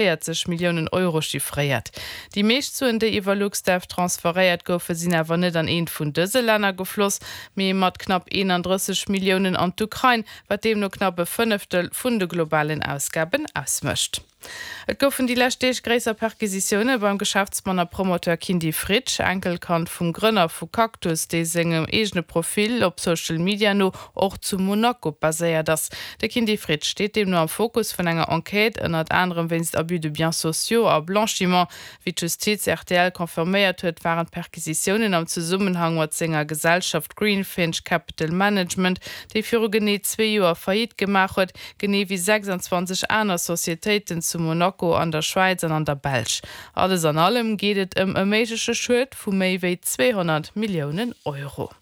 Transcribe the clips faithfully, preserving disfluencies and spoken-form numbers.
véierzeg Milliounen Euro chiffréiert. Déi meescht Suen, déi iwwer LuxDev transferéiert goufen, sinn awer net an eent vun dëse Länner gefloss, mee mat knapp eenandrësseg Milliounen an d'Ukrain, wat deemno knapp e Fënneftel vun de globalen Ausgaben ausmécht. Et goufen déi lescht Deeg gréisser Perquisitioune beim Geschäftsmann a Promoteur Kindy Fritsch, Enkelkand vum Grënner vu Cactus, dee sengem eegene Profil op Social Media no och zu Monaco baséiert ass. De Kindy Fritsch steet deemno am Fokus vun enger Enquête, ënnert anerem wéinst Abus de biens sociaux a Blanchiment. Wéi d'Justiz rtl confirméiert huet, waren d'Perquisitiounen am Zesummenhang mat senger Gesellschaft Greenfinch Capital Management, déi viru genee zwee Joer Faillite gemaach huet, genee wéi sechsandzwanzeg aner Societéiten zu Monaco, an der Schwäiz an an der Belsch. Alles an allem geet et ëm e méigleche Schued vu méi wéi zweehonnert Milliounen Euro.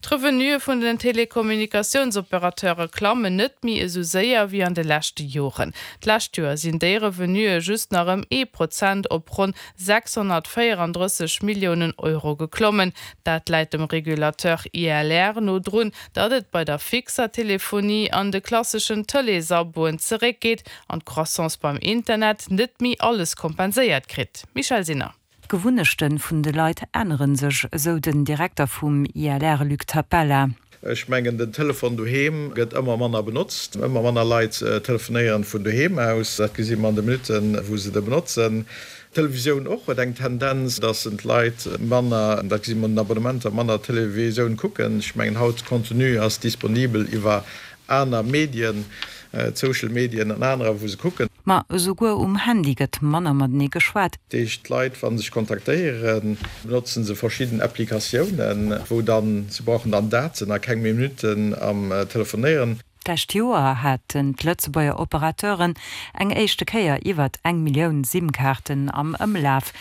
D'Revenuë vun den Telekommunikatiounsoperateure klammen net méi esou séier wéi an de leschte Joren. D'lescht Joer sinn déi Revenuë just nach ëm ee Prozent op ronn sechshonnertvéierandrësseg Milliounen Euro geklommen. Dat läit dem Regulateur I L R no drun, datt et bei der fixer Telefonie an de klasseschen Tëleesabboen zeréckgeet an d'Croissance beim Internet net méi alles kompenséiert kritt. Michèle Sinner. D'Gewunnechte vun de Leit ännere sech, esou den Direkter vum I L R Luc Tapella. Ech mengen, den Telefon doheem gëtt ëmmer manner benotzt. Ëmmer manner Leit telefonéieren vun doheem aus. Dat gesi mer an de Minutten, wou se de benotzen. D'Televisioun och huet eng Tendenz, dass d'Leit manner, dat gesi mer un den Abonnementer, manner Televisioun kucken. Ech mengen, haut Contenu ass disponibel iwwer aner Medien, d'Social Medien an anerer, wou se kucken. Ma esouguer um Handy gëtt manner matenee geschwat. Dat heescht, d'Leit, wa se sech kontaktéieren, benotzen se verschidden Applikatiounen, wou dann, se brauchen dann Daten a keng méi Minutten am Telefonéieren. D'lescht Joer haten d'Lëtzebuerger Operateuren eng éischte Kéier iwwert eng Millioun SIM-Kaarten am Ëmlaf.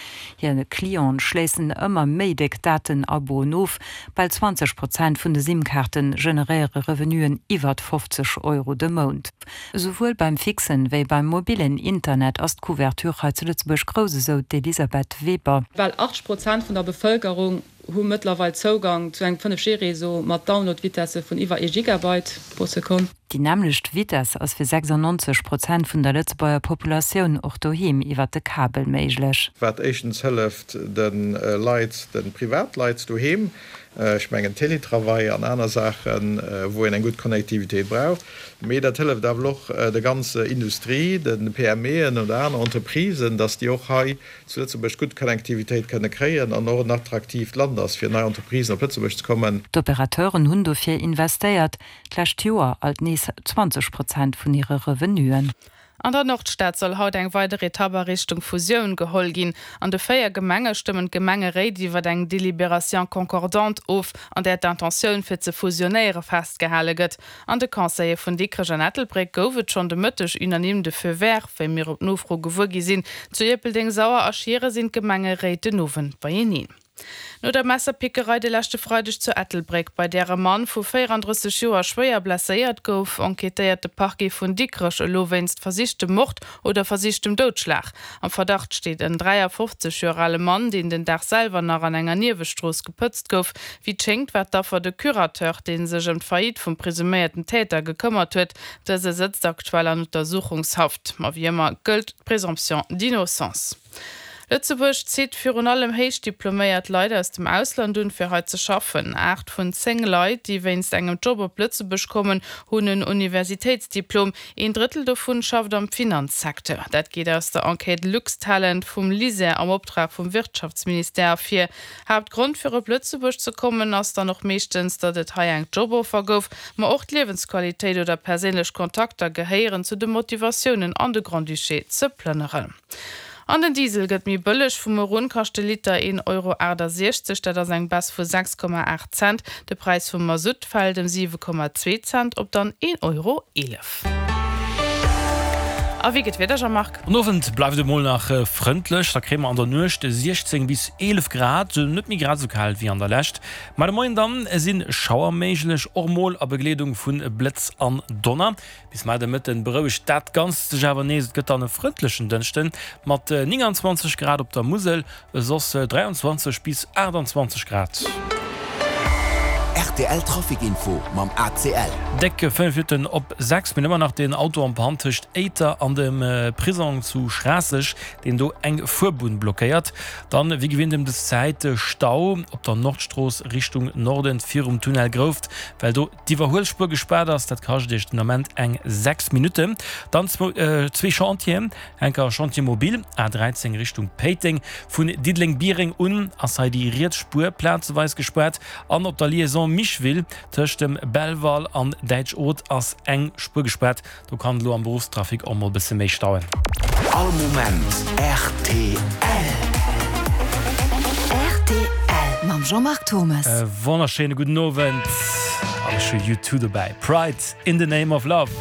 Hir Clienten schléissen ëmmer méi déck Daten-Aboen of. Bal zwanzeg Prozent vun de SIM-Kaarte generéiere Revenuen iwwert fofzeg Euro de Mount. Esouwuel beim fixen wéi beim mobillen Internet ass d'Couverture hei zu Lëtzebuerg grouss, esou d'Elisabeth Weber. Bal achtzeg Prozent vun der Bevëlkerung hu mëttlerweil Zougang zu engem fënnef G-Réseau mat Download-Vitesse vun iwwer ee Gigabyte pro Sekonn. Déi nämmlecht Vitesse ass fir sechsundneunzeg Prozent vun der Lëtzebuerger Populatioun och doheem iwwer de Kabel méiglech. Wat éischtens hëlleft de Leit, de Privatleit doheem, ech mengen Teletravail an aner Saachen, wou een eng gutt Connectivitéit brauch, mee dat hëlleft awer och der ganzer Industrie, de P M Eën oder aner Entreprisen, dass déi och hei zu Lëtzebuerg gutt Connectivitéit kënne kréien an och en attraktiivt Land ass, fir nei Entreprisen op Lëtzebuerg ze kommen. D'Operateuren hunn dofir investéiert, d'lescht Joer alt nees zwanzeg Prozent vun hire Revenuen. An der Nordstad soll haut eng weider Etapp a Richtung Fusioun geholl ginn. An de véier Gemenge stëmmen d'Gemengeréit iwwer eng Délibération concordante of, an där d'Intentioun fir ze fusionéiere festgehale gëtt. An de Conseile vun Dikrech an Ettelbréck gouf et schonn de Mëtteg unanime de Feu vert, wéi mir op Nofro gewuer gi sinn. Zu Ierpeldeng, Sauer a Schieren sinn d'Gemengeréit den Owend beieneen. No der Messerpickerei de leschte Freideg zu Ettelbréck, bei där e Mann vu véierandrësseg Joer schwéier blesséiert gouf, enquêtéiert de Parquet vun Dikrech elo wéinst versichtem Mord oder versichtem Doudschlag. Am Verdacht steet en dräiafofzeg Joer ale Mann, deen den Dag selwer nach an enger Niewestrooss gepëtzt gouf. Wéi et schéngt, war d'Affer de Curateur, dee sech ëm d'Faillite vum presuméierten Täter gekëmmert huet. Dëse sëtzt aktuell an Untersuchungshaft. Ma wéi ëmmer gëllt d'Présomption d'innocence. Lëtzebuerg zitt virun allem héich diploméiert Leit aus dem Ausland un, fir hei ze schaffen. Aacht vun zéng Leit, déi wéinst engem Job op Lëtzebuerg kommen, hunn en Universitéitsdiplom. Een Drëttel dovun schafft am Finanzsecteur. Dat geet aus der Enquête Luxtalent vum LISER am Optrag vum Wirtschaftsministère ervir. Haaptgrond fir op Lëtzebuerg ze kommen ass dann och meeschtens, datt et hei eng Joboffer gouf, ma och d'Liewensqualitéit oder perséinlech Kontakter gehéieren zu de Motivatiounen an de Grand-Duché ze plënneren. An den Diesel gëtt méi bëlleg, Vu muer un kascht de Liter een Euro aachtasechzeg, dat ass eng Baisse vu sechs Komma aacht Cent. De Präis vum Masutt fält ëm siwe Komma zwee Cent op dann een Euro eelef. A wéi gëtt d'Wieder, Jean-Marc? Den Owend bleift et mol nach frëndlech, da kréie mer an der Nuecht siechzéng bis eelef Grad, net méi grad esou kal wéi an der Lescht. Ma de Moien dann si Schauer méiglech, och mol a Begleedung vu Blëtz an Donner. Bis mar de Mëtten berouegt dat Ganzt sech awer nees. Et gëtt dann e frëndlechen Dënschden mat nénganzwanzeg Grad op der Musel, soss dräianzwanzeg bis aachtanzwanzeg Grad. Rtl Trafic Info mam ACL. Déck fënnef Minutten op sechs. Mir hunn ëmmer nach deen Auto en panne tëscht Éiter an dem Prisong zu Schraasseg, deen do eng Fuerbunn blockéiert. Dann, wéi gewinnt ëm des Zäit, Stau op der Nordstrooss Richtung Norden virum Tunnel Grouft, well do d'Iwwerhuelspuer gespaart ass. Dat kascht Iech den Ament eng sechs Minutten. Dann zwee Chantieren, enker Chantier mobile A dräizéng Richtung Péiteng, vun Diddeleng-Biereng un ass hei déi riets Spuer plazeweis gespaart an op der Liaison Micheville tëscht dem Belval an Däitsch-Oth ass eng Spuer gespaart. Do kann et elo am Beruffstrafic och mol bësse méi stauen. All Moment rtl. Rtl mam Jean-Marc Thommes. E wonnerschéine gudden Owend an ech hu U two dobäi, Pride in the name of love.